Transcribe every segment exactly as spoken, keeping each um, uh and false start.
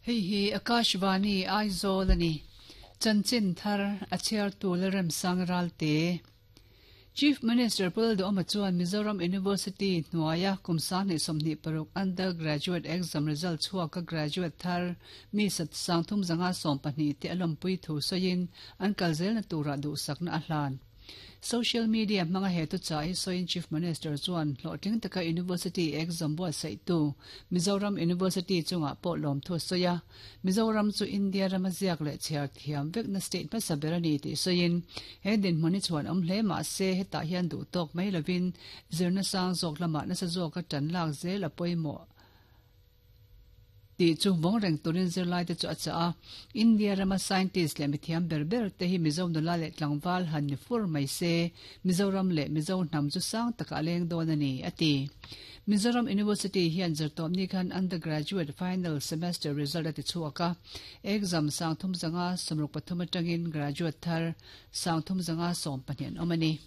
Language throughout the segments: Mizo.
Hei hi Akashvani Aizawl ani. Chanchin thar a chhiar tu Lalremsang Ralte. Chief Minister Pu Lalduhoma chuan Mizoram University hnuaia kum sanghnih sawmhnih paruk undergraduate exam result chhuaka graduate thar mi sat sangthum zanga sawm pahnih te a lawmpui thu sawiin an kal zelna turah duhsakna a hlan. Social media hmanga he thuchah hi sawiin Chief Minister chuan hlawhtling taka University exam buatsaihtu Mizoram University chungah pawh lawmthu a sawi a. Mizoram chu India rama ziak leh chhiar thiam vekna state hmasa ber a ni tih sawiin he dinhmun hi chhuan awm hle mahse hetah hian duh tawk mai lovin zirna sang zawk lamah nasa zawka tan lak zel a pawimawh tih chu vawng reng turin zirlai te chu a chah a. India rama scientist leh mithiam ber ber te hi Mizo nula leh tlangval han ni fur mai se, Mizoram leh Mizo hnam chu sang takah a leng dawn a ni, a ti. Mizoram University hian zirtawpni khan undergraduate final semester result a ti chhuak a, exam sangthum zanga sawmruk pathum atangin graduate thar sangthum zanga sawm pahnih an awm a ni.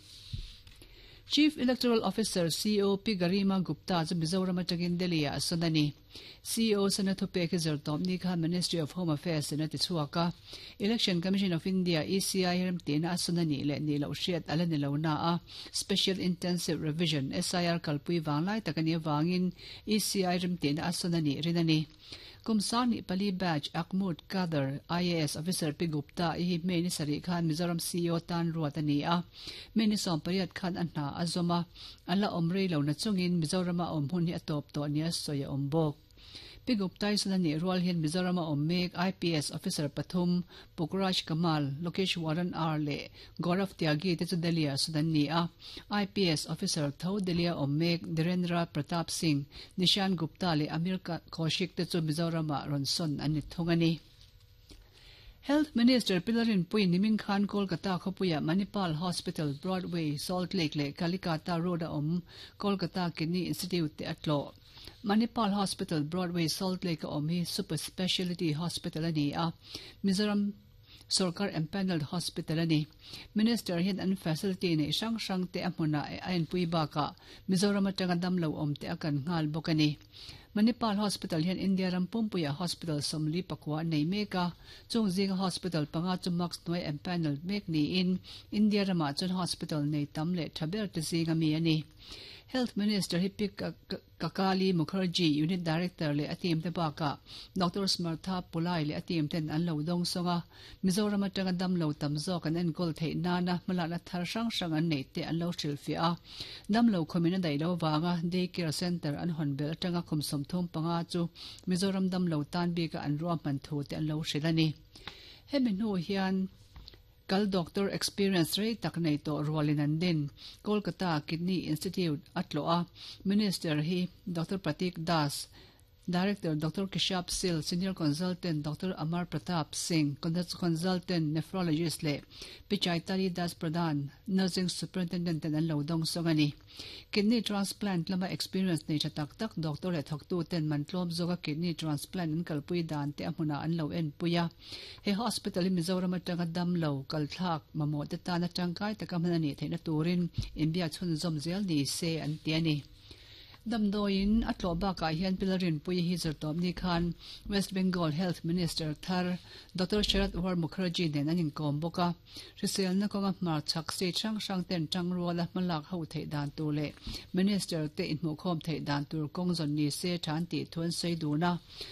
Chief Electoral Officer, C E O, Pi Garima Gupta chu Mizoram atangin Delhi ah a sawn a ni. C E O sana thupek hi zirtawpni khan Ministry of Home Affairs in a ti chhuak a. Election Commission of India, E C I, remtihna a sawn a nih leh nih loh hriat a la ni lo na a, Special Intensive Revision, S I R, kalpui vanglai tak a nih avangin E C I remtihna a sawn a nih rin a ni. Kum sanghnih pali batch ACMUD cadre I A S officer Pi Gupta hi May ni sarih khan Mizoram C E O tan ruat a ni a. May ni sawm pariat khan a hna a zawm a, a la awm rei lo na chungin Mizorama awm hun hi a tawp tawh nia sawi a awm bawk. Pi Gupta hi sawn a nih rual hian Mizorama awm mek I P S officer pathum Pukraj Kamal, Lokesh Waran R leh Gaurav Tyagi te chu Delhi ah sawn an ni a. I P S officer tho Delhi a awm mek Dhirendra Pratap Singh, Nishan Gupta leh Amir Kaushik te chu Mizorama rawn sawn an ni thung a ni. Health Minister Pi Lalrinpuii nimin khan Kolkata khawpuia Manipal Hospital, Broadway, Salt Lake leh Kalikata Road a awm Kolkata Kidney Institute te a tlawh. Manipal Hospital, Broadway, Salt Lake a awm hi super speciality hospital a ni a, Mizoram Sorkar empanelled hospital a ni. Minister hian an facility nei hrang hrang te a hmunah a enpui bakah Mizoram atanga damlo awm te a kan nghal bawk a ni. Manipal Hospital hian India ram pumpuia hospital sawmli pakua an nei mek a, chung zinga hospital panga chu MARCS hnuai empanelled mek niin India ramah chuan hospital nei tam leh tha ber te zinga mi a ni. Health Minister hi Pi Kakali Mukherjee, Unit Director leh a team te bakah Doctor Smartha Pulai leh a team ten an lo dawng sawng a, Mizoram atanga damlo tam zawk an enkawl theih nana hmalakna thar hrang hrang an neih te an lo hrilhfiah a. Damlo khumin a daih lo vanga day care center an hawn belh atanga kum sawmthum panga chu Mizoram damlo tan bika an ruahman thu te an lo hrilh a ni. Hemi hnu hian kal doctor experience rei tak nei tawh rualin an din Kolkata Kidney Institute a tlawh a. Minister hi Doctor Pratik Das, Director Doctor Keshab Sil, Senior Consultant Doctor Amar Pratap Singh, Consultant Nephrologist leh Pi Chaitali Das Pradhan, Nursing Superintendent ten an lo dawng sawng a ni. Kidney transplant lama experience nei tha tak tak doctor leh thawktu ten man tlawm zawka kidney transplant an kalpui dan te a hmunah an lo enpui a. He hospital hi Mizoram atanga damlo kalthlak mamawh te tana tangkai taka hman a nih theihna turin inbiak chhunzawm zel ni se an ti a ni. Damdawiin a tlawh bakah hian Pi Lalrinpuii hi zirtawpni khan West Bengal Health Minister thar Doctor Sharad War Mukherjee nen an inkawm bawk a. Hriselna kawnga hmarchhak state hrang hrang ten tangruala hmalak ho theih dan tur leh Minister te inhmuhkhawm theih dan tur kawng zawn ni se than tih thu an sawi dun a.